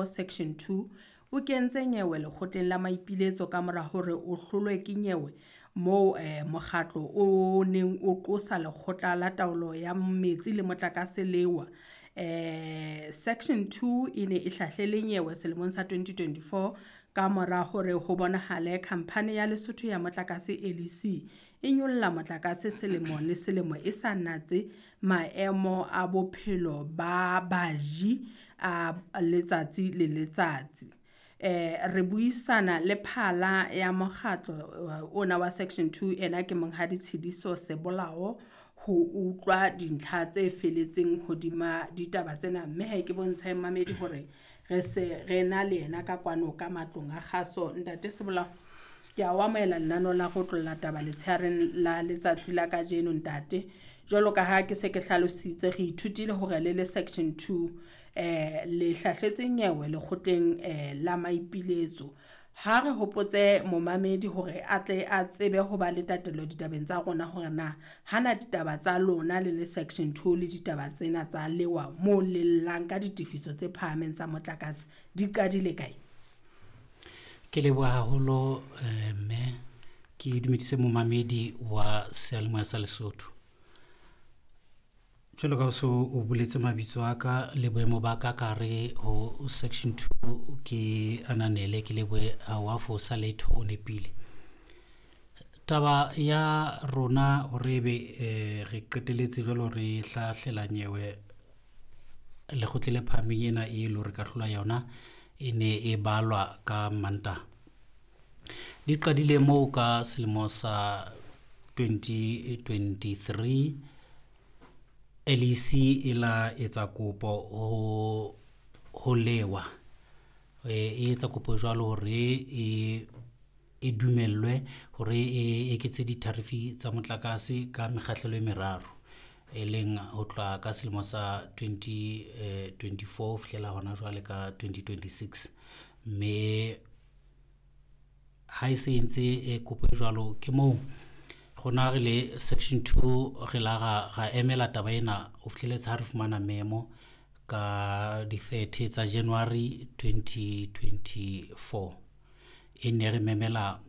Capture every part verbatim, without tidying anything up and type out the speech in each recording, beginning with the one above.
Section two o kentse nyewe lekgotleng la maipiletso ka mora hore o hlolwe ke nyewe moo eh, mokgatlo o neng o qosa lekgotla la taolo ya metsi le motlakase lewa. Eh, Section two e ne e hlahlele nyewe selemong sa twenty twenty-four ka mora hore ho bonahale khamphani ya Lesotho ya motlakase L E C e nyolla motlakase selemo le selemo e sa natse maemo a bophelo ba baji a letsatsi le letsatsi. Eh, re buisana le phala ya mokgatlo ona wa Section two ena ke Monghadi Tshidiso Sebolao ho utlwa dintlha tse feletseng hodima ditaba tsena, mme ha ke bontshe mamedi hore re se re na le yena ka kwano ka matlong a kgaso. Ntate Sebolao, ke a o amohela lenaneo la go tlolla taba letshehareng la letsatsi la kajeno ntate. Jwalo ka ha ke se ke hlalositse, re ithutile hore le le Section two eh le hlahletse nyewe lekgotleng eh la maipiletso. Ha re hopotse momamedi hore a tle a tsebe ho ba le tatelo ditabeng tsa rona hore na hana ditaba tsa lona le le Section two le ditaba tsena tsa lewa moo le llang ka ditefiso tse phahameng tsa motlakase di qadile kae? Ke leboha haholo eh, mme ke dumedise momamedi wa seyalemoya sa Lesotho. Jwalo ka o so o boletse mabitso a ka le boemo ba ka ka hare ho Section two, ke ananele ke lebohe ha wa fosa letho, o nepile. Taba ya rona hore ebe eh, re qeteletse jwalo re hlahlela nyewe lekgotleng le phahameng ena e le hore ka hlola yona e ne e balwa ka Mantaha. Di qadile moo ka selemo sa twenty twenty-three. L E C e la etsa kopo ho, ho lewa. E etsa kopo jwalo hore e, e dumellwe hore e eketse ditarifi tsa motlakase ka mekgahlelo e meraro, e leng ho tloha ka selemo sa twenty twenty-four ho fihlela hona jwale ka twenty twenty-six. Mme ha e se entse e kopo e jwalo, ke moo rona re le Section two re la ra, ra emela taba ena ho fihleletse ha re fumana memo ka di-thirty tsa January twenty twenty-four. E ne re memela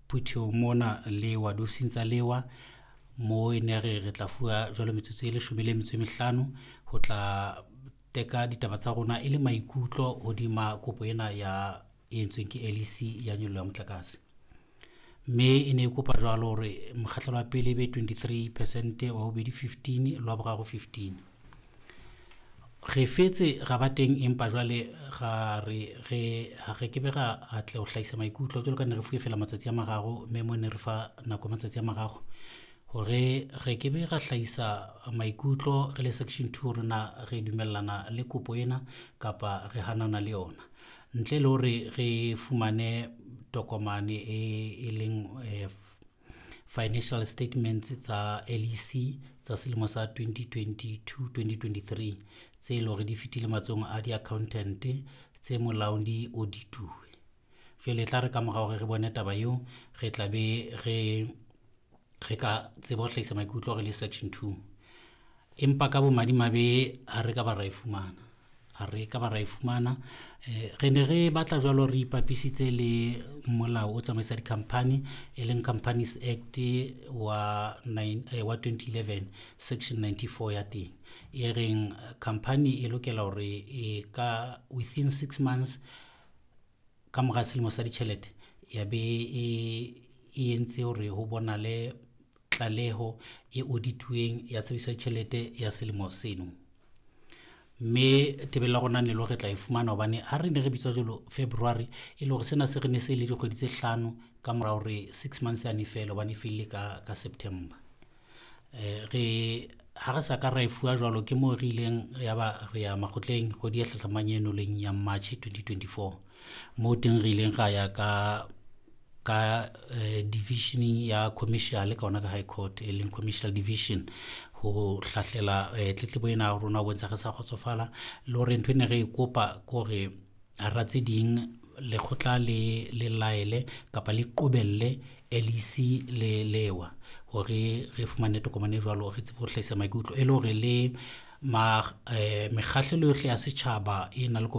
phuthehong mona lewa, diofising tsa lewa, moo e ne re re tla fuwa jwalo metsotso e leshome le metso e mehlano ho tla teka ditaba tsa rona e le maikutlo hodima kopo ena ya e entsweng ke L E C ya nyollo ya motlakase. Mme e ne e kopa jwalo hore mokgahlelo wa pele e be twenty-three percent, wa bobedi fifteen, le wa boraro fifteen. Re fetse ra ba teng, empa jwale ra re, re, ha re kebe ra atleha ho hlahisa maikutlo jwalo ka ne re fuwe feela matsatsi a mararo, mme mo ne re fa nako ya matsatsi a mararo hore re kebe ra hlahisa maikutlo re le Section two hore na re dumellana le kopo ena kapa re hanana le yona, ntle le hore re fumane tokomane e, e leng, eh, financial statements tsa L E C tsa selemo sa twenty twenty-two twenty twenty-three tse leng hore di fetile matsohong a di-accountant tse molaong di audituwe. Jwale e tla re ka mora hore re bone taba eo, re tla be re, re ka tseba ho hlahisa maikutlo re le Section two. Empa ka bomadimabe ha re ka ba ra e fumana. Ha re ka ba ra e fumana. Eh, re ne re batla jwalo re ipapisitse le molao o tsamaisa di-company, e leng Companies Act wa nine, eh, wa twenty eleven, section ninety-four ya teng. E reng company e lokela hore e ka within six months ka mora selemo sa ditjhelete ya be e, e entse hore ho bonale tlaleho e audituweng ya tshebediso ya ditjhelete ya selemo seno. Mme tebello ya rona ne le hore re tla e fumana, hobane ha re ne re bitswa jwalo February, e le hore sena se re ne se le dikgwedi tse hlano ka mora hore six months yane e fele, hobane e fellile ka, ka September. Eh, re, ha re sa ka ra e fuwa jwalo, ke moo re ileng ya ba re ya makgotleng kgwedi e hlahlamang eno leng ya March twenty twenty-four. Moo teng re ileng ra ya ka, ka, eh, divisioning ya commercial ka hona ka High Court, e leng commercial division, ho hlahlela, eh, tletlebo ena ya rona ho bontsha re sa kgotsofala, le hore ntho e ne re e kopa ke hore hara tse ding lekgotla le, le laele kapa le qobelle L E C le lewa hore re fumane tokomane e jwalo, re tsebe ho hlahisa maikutlo, e le hore le Ma eh, mekgahlelo yohle ya setjhaba e na le ko ba